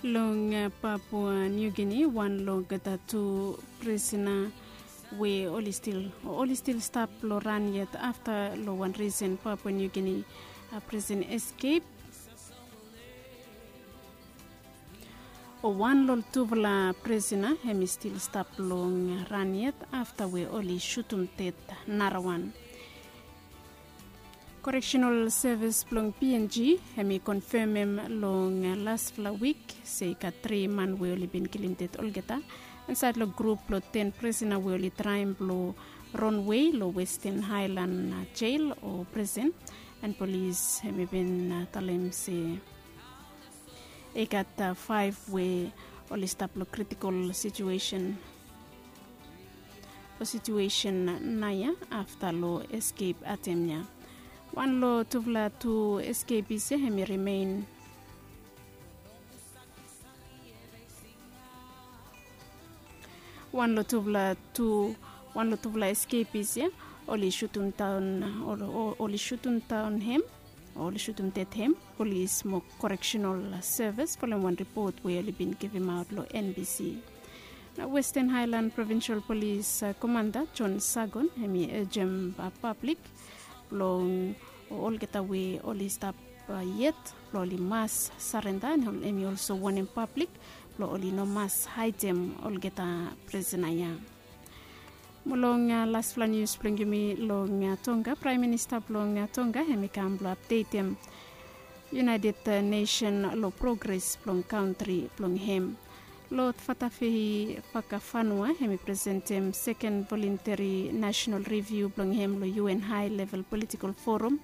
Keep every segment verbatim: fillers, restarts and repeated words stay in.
Long Papua New Guinea, wan long olgeta tu prisona we oli stil oli stil stap long ran yet afta long wan risen Papua New Guinea prison escape. O wan long tufala prisona hemi stil stap long ran yet afta we oli sutum ded narawan. Correctional Service blong PNG hemi konfemem long lasfala wik se i gat tri man we oli bin kilim ded olgeta insaed long grup blong ten prisona we oli traem blong ronwe long Western Highland Jail o prison. And polis hemi bin talem se i gat faef we oli stap long kritikol situesen long situesen nao ya afta long eskep atem ya. Wan long tufala tu eskepis ya hemi rimen wan long tufala tu wan long tufala eskepis ya oli sutum daon oli sutum daon hem oli sutum ded hem. Polis mo koreksenal sevis folem wan ripot we oli bin givimaot long NBC. Na Western Highland Provincial Polis Komanda John Sagon hemi ejem pablik blong olgeta we oli stap yet blong oli mas sarenda. Hemi olso wonem pablik blong oli no mas haedem olgeta prisona ya. Mo long lasfala nius blong yumi long Tonga, Praem Minista blong Tonga hemi kam blong apdetem United Nation long progres blong kantri blong hem. Lord Fatafehi Fakafanua hemi presentem seken volunteri nasenal riviu blong hem long UN High Level Political Forum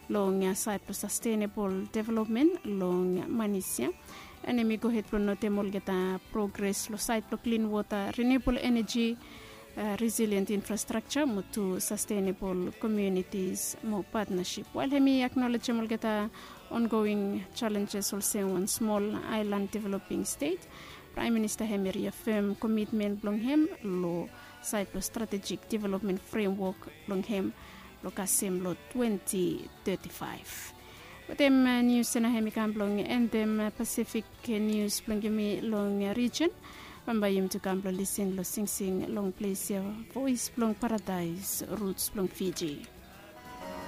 long saed blong sastenebol developmen long Manis ya. And hemi gohed blong notem olgeta progres long saed blong klin wota, rinebol eneji, resilient infrastrakja mo tu sastenebol komiunitis mo patnasip. Wael hemi aknolejem olgeta ongoing jalenjes olsem wan smol aelan developing stet, Praem Minista hemi riafem komitmen blong hem long saed blong stratejik developmen fremwok blong hem blong kasem long twenti teti faef. Wetem nius ya nao hemi kam blong endem Pasifik nius blong yumi long rijen. Bambae yumi tu kam blong lisin long singsing long ples ya, Voes blong Paradaes, Ruts blong Fiji.